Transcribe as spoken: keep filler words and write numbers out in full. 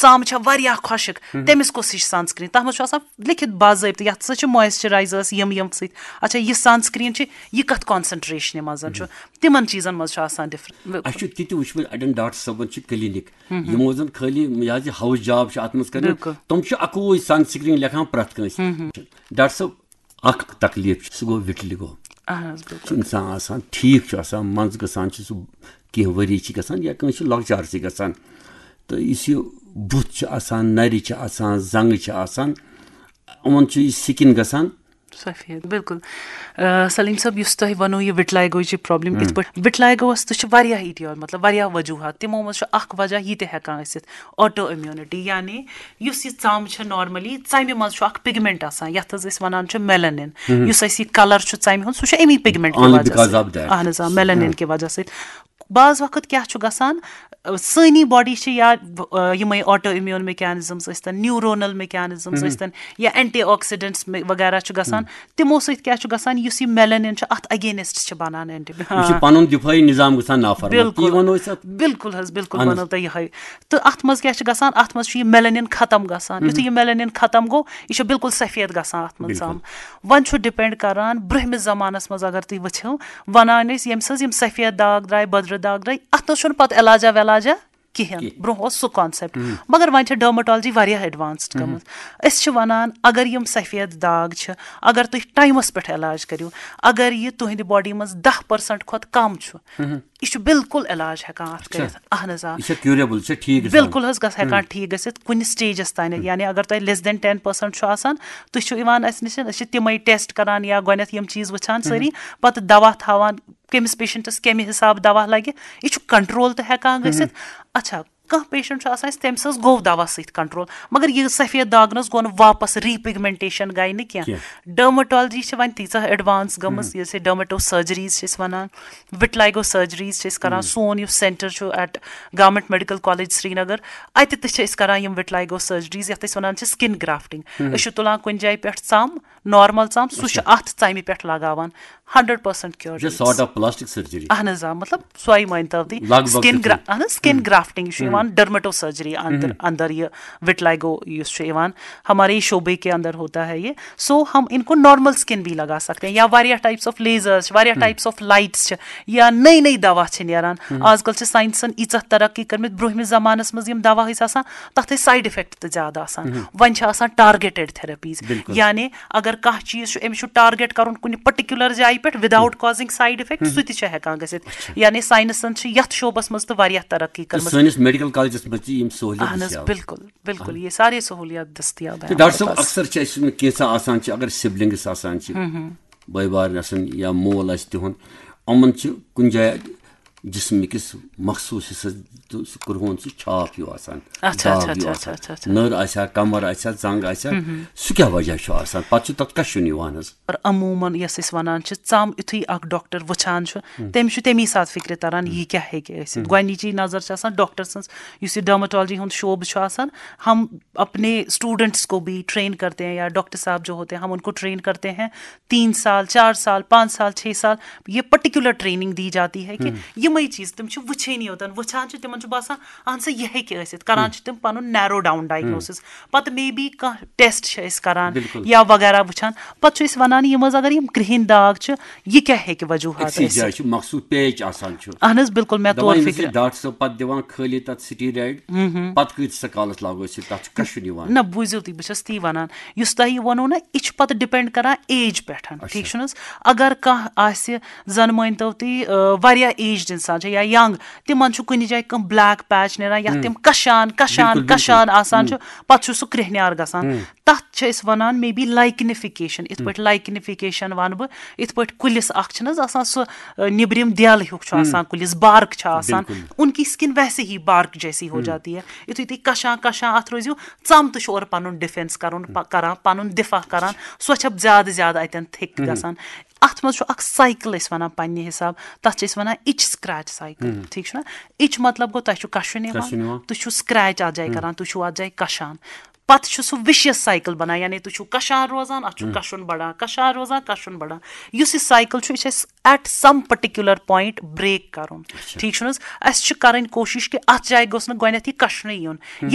ژم چھےٚ واریاہ خۄشک، تٔمِس کۄس ہِش سنسکرین؟ تتھ منٛز چھُ آسان لیکھِتھ باضٲبطہٕ، یتھ سۭتۍ چھِ مویسچرایزرس یِم یِم سۭتۍ۔ اچھا، یہِ سنسکرین چھِ، یہِ کتھ کانسنٹریشنہِ منٛز چھُ؟ تِمن چیٖزن منٛز چھُ آسان ڈفرنٹ۔ اسہِ چھُ تہِ تہِ وٕچھمُت، اڑٮ۪ن ڈاکٹر صٲبن چھِ کلینک، یِمو زن خٲلی یہِ حظ یہِ ہاوُس جاب چھِ اتھ منٛز کران، تِم چھِ اکوے سنسکرین لیکھان پرٛٮ۪تھ کٲنٛسہِ۔ ڈاکٹر صٲب، اکھ تکلیف چھُ، سُہ گوٚو وِٹلِگو۔ اہن حظ، چھُ انسان آسان ٹھیٖک، چھُ آسان، منٛزٕ گژھان چھُ سُہ، کینٛہہ ؤری چھِ گژھان یا کٲنٛسہِ چھُ لۄکچارسٕے گژھان، تہٕ یُس یہِ بُتھ چھُ آسان، نرِ چھِ آسان، زنٛگہٕ چھِ آسان، یِمن چھُ یہِ سِکِن گژھان۔ سفید، بالکل۔ آ، سلیم صٲب، یُس تۄہہِ وَنو یہِ وِٹلایگوچہِ پرابلم کِتھ پٲٹھۍ؟ وِٹلایگوَس تہِ چھِ واریاہ ایٹیال، مطلب واریاہ وجوہات۔ تِمو منٛز چھُ اکھ وجہ یہِ تہِ ہٮ۪کان ٲسِتھ، آٹو امیونٹی، یعنی یُس یہِ ژم چھِ نارملی، ژمہِ منٛز چھُ اکھ پگمنٹ آسان، یتھ حظ أسۍ وَنان چھِ میلنن۔ یُس اَسہِ یہِ کلر چھُ ژمہِ ہُنٛد، سُہ چھُ امی پگمنٹ کہِ Only وجہ because سۭتۍ۔ of that۔ اہن حظ، آ، میلنن کہِ وجہ سۭتۍ۔ بعض وقت کیٛاہ چھُ گژھان، آ، سٲنی باڈی چھِ یا، آ، یِمے آٹو امیون میکینزمز ٲسۍتن، نیورونل میکینزمز ٲسۍتن، یا اینٹی آکسیڈنٹس وغیرہ چھُ گژھان، تِمو سۭتۍ کیٛاہ چھُ گژھان، یُس یہِ میلنن چھُ، اتھ اگینسٹ چھِ بنان اینٹی۔ یہِ چھُ پنُن دِفٲعی نظام گژھان نافرمان، بالکل۔ تی وَنو أسۍ اتھ۔ بالکل حظ، بالکل اہن حظ۔ وَنو تۄہہِ یِہوٚے۔ تہٕ اتھ منٛز کیٛاہ چھُ گژھان؟ اتھ منٛز چھُ یہِ میلنن ختم گژھان۔ یُتھُے یہِ میلنن ختم گوٚو، یہِ چھُ بالکل سفید گژھان اتھ منٛز ژم۔ وۄنۍ چھُ ڈِپینڈ کران، برٛونٛہمِس زمانس منٛز اگر تُہۍ وٕچھِو، ونان ٲسۍ، ییٚمہِ سۭتۍ یِم سفید داغ درٛاے، بٔدرٕ داغ درٛاے، اتھ نہ چھُنہٕ پتہٕ علاجہ ولاجہ کِہیٖنۍ۔ برٛونٛہہ اوس سُہ کانسیپٹ۔ مگر وۄنۍ چھِ ڈرمٹالجی واریاہ ایڈوانسڈ گٔمٕژ۔ أسۍ چھِ ونان، اگر یِم سفید داغ چھِ، اگر تُہۍ ٹایمس پٮ۪ٹھ علاج کٔرِو، اگر یہِ تُہنٛدِ باڈی منٛز دَہ پٔرسنٹ کھۄتہٕ کم چھُ، یہِ چھُ بالکل علاج ہٮ۪کان اتھ کٔرِتھ۔ اہن حظ، آ۔ یہِ چھا curable، یہِ چھا ٹھیٖک گژھان؟ بالکل حظ گژھِ ہٮ۪کان ٹھیٖک گٔژھِتھ کُنہِ سٹیجس تانٮ۪تھ۔ یعنی اگر تۄہہِ less than ten percent چھُ آسان، تُہۍ چھِو یِوان اسہِ نِش، أسۍ چھِ تِمے ٹیسٹ کران یا گۄڈٕنٮ۪تھ یِم چیٖز وٕچھان سٲری، پتہٕ دوا تھاوان، کٔمِس پیشنٹس کمہِ حساب دوا لگہِ، یہِ چھُ کنٹرول تہِ ہٮ۪کان گٔژھِتھ۔ اچھا، کانٛہہ پیشنٹ چھُ آسان، اَسہِ تٔمِس حظ گوٚو دوا سۭتۍ کنٹرول، مگر یہِ سفید داغ نہ حظ گوٚو نہٕ واپس، ریپگمنٹیشن گٔے نہٕ کینٛہہ۔ ڈرمٹالجی چھِ وۄنۍ تیٖژاہ ایڈوانس گٔمٕژ، یۄس یہِ ڈرمٹو سرجریز چھِ أسۍ ونان، وِٹلایگو سرجریز چھِ أسۍ کران۔ سون یُس سینٹر چھُ at Government Medical College Srinagar، اتہِ تہِ چھِ أسۍ کران یِم وِٹلایگو سرجریز، یتھ أسۍ ونان چھِ سکن گرافٹنگ۔ أسۍ چھِ تُلان کُنہِ جایہِ پٮ۪ٹھ ژم، نارمل ژم، سُہ چھُ اتھ ژمہِ پٮ۪ٹھ لگاوان، hundred percent cure. Just sort of plastic surgery۔ اہن حظ، آ، مطلب سۄے مٲنۍ تو تُہۍ۔ لگ بگ سکن تِتھُے۔ اہن حظ، سکن گرافٹنگ، یہِ چھُ یِوان ڈرمٹو سرجری اندر، اندر یہِ وِٹلایگو یُس چھُ یِوان، ہمارے شعبے کے اندر ہوتا ہے یہ۔ سو ہم ان کو نارمل سکن بھی لگا سکتے ہیں، یا واریاہ ٹائپس آف لیزرز چھِ، واریاہ ٹائپس آف لائٹس چھِ، یا نٔے نٔے دوا چھِ نیران۔ آز کل چھِ ساینسن ییٖژاہ ترقی کٔرمٕژ، برونٛہمِس زمانس منٛز یِم دوا ٲسۍ آسان، تتھ ٲسۍ سایڈ افیکٹ تہِ زیادٕ آسان۔ وۄنۍ چھِ آسان ٹارگیٹڈ تھراپیز۔ یعنی اگر کانٛہہ چیٖز چھُ، أمِس چھُ ٹارگیٹ کرُن کُنہِ پرٹیکولر جایہِ پٮ۪ٹھ without causing side effect، سُہ تہِ چھُ ہٮ۪کان گٔژھِتھ۔ یعنی ساینسن چھِ یتھ شعبس منٛز تہِ واریاہ ترقی تہٕ کٔرمٕژ۔ سٲنِس میڈیکل کالجس منٛز تہِ یِم سہوٗلیت اہن حظ، دٔستیاب۔ بالکل، بالکل، یہِ سارے سہوٗلیات دٔستیاب ہیں تہٕ ڈاکٹر ہمارے صٲب، پاس۔ اکثر چھِ اَسہِ کینٛژھا آسان چھِ، اگر سِبلنگس آسان چھِ، بٲے بارٕنۍ آسان یا مول آسہِ تِہُنٛد، یِمن چھِ کُنہِ جایہِ جسمہٕ کِس مخصوٗص حصس تہٕ سُہ کرٛہُن سُہ چھاپ ہیوٗ آسان، اچھا، داغ اچھا، ہیوٗ اچھا، آسان۔ اچھا، اچھا۔ نٔر آسہِ ہا، کمر آسہِ ہا، زنٛگ آسہِ ہا، سُہ کیٛاہ وجہ چھُ آسان؟ پتہٕ چھُ تتھ کشُن یِوان حظ۔ اور عموماً یۄس أسۍ ونان چھِ، ژم یُتھُے اکھ ڈاکٹر وٕچھان چھُ، تٔمِس چھُ تمی ساتہٕ فکرِ تران، یہِ کیٛاہ ہیٚکہِ ٲسِتھ۔ گۄڈنِچی نظر چھِ آسان ڈاکٹر سٕنٛز، یُس یہِ ڈرمٹالجی ہُنٛد شعبہٕ چھُ آسان، ہم اپنے اسٹوڈنٹس کو بھی ٹرین کرتے ہیں، یا ڈاکٹر صاحب جو ہوتے ہیں، ہم ان کو ٹرین کرتے ہیں، تین سال، چار سال، پانچ سال، چھ سال، یہ پرٹیکولر ٹریننگ دی جاتی ہے کہ یِمے چیٖز تِم چھِ وٕچھٲنی یوتن، وٕچھان چھِ، تِمن چھُ باسان، اہن سا، یہِ ہیٚکہِ ٲسِتھ، کران چھِ تِم پنُن نیرو ڈاؤن ڈائگنوسس۔ پتہٕ مے بی کانٛہہ ٹیسٹ چھِ أسۍ کران یا وغیرہ وٕچھان، پتہٕ چھِ أسۍ ونان، یِم حظ اگر یِم کرٛہِنۍ داغ چھِ، یہِ کیٛاہ ہیٚکہِ وجوہات أکسٕے جایہِ ٲسِتھ؟ چھُ مخصوٗص پیچ آسان چھُ۔ اہن حظ، بالکل، مےٚ دپان توٚر ییٚمِس فکرِ۔ یہِ ڈاکٹر صٲب پتہٕ دِوان خٲلی تتھ سٹیرایڈ، پتہٕ کۭتِس کالس لاگو أسۍ یہِ، تتھ چھُ کشُن یِوان۔ نہ، بوٗزِو تُہۍ، بہٕ چھَس تی وَنان، یُس تۄہہِ یہِ ووٚنوُ نہ، یہِ چھُ پَتہٕ ڈِپینڈ کَران ایج پٮ۪ٹھ، ٹھیٖک چھُنہٕ حظ؟ اگر کانٛہہ آسہِ، زَن مٲنۍ تو تُہۍ، آ، واریاہ ایجڈ اِنسان چھُ یا ینگ، تِمن چھُ کُنہِ جایہِ کانٛہہ بلیک پیچ نیران، یَتھ تِم کَشان کَشان کَشان آسان چھُ، پَتہٕ چھُ سُہ کرٛیٚہنیار گژھان۔ تَتھ چھِ أسۍ وَنان مے بی لایکنِفِکیشن۔ یِتھ پٲٹھۍ لایکنِفِکیشن وَنہٕ بہٕ، یِتھ پٲٹھۍ کُلِس اکھ چھِنہٕ حظ آسان سُہ، آ، نیٚبرِم دٮ۪ل ہیوٗ چھُ آسان کُلِس، بارک چھِ آسان، ان کی سکن ویسے ہی بارک جیسی ہو جاتی ہے۔ یُتھُے تُہۍ کَشان کَشان اَتھ روٗزِو، ژم تہِ چھُ اورٕ پَنُن ڈِفینس کَرُن، پَ-، کَران، پَنُن دِفاع کَران، سۄ چھےٚ زیادٕ زیادٕ اَتٮ۪ن تھِک گژھان۔ اَتھ منٛز چھُ اکھ سایکل أسۍ وَنان پننہِ حساب، تَتھ چھِ أسۍ وَنان اِچ سکریچ سایکل، ٹھیٖک چھُنہ؟ اِچ مطلب گوٚو تۄہہِ چھُ کَشُن یِوان، تُہۍ چھِو سکریچ اَتھ جایہِ کَران، تُہۍ چھِو اَتھ جایہِ کَشان۔ پَتہٕ چھُ سُہ وِشیس سایکل بَنان، یعنی تُہۍ چھِو کَشان روزان، اَتھ چھُ کَشُن بَڑان، کَشان روزان، کَشُن بَڑان۔ یُس یہِ سایکل چھُ، یہِ چھُ اَسہِ at some particular point break کَرُن، ٹھیٖک چھُنہٕ حظ؟ اَسہِ چھِ کَرٕنۍ کوٗشِش کہِ اَتھ جایہِ گوٚژھ نہٕ گۄڈٕنٮ۪تھ یہِ کَشنٕے یُن۔ ییٚلہِ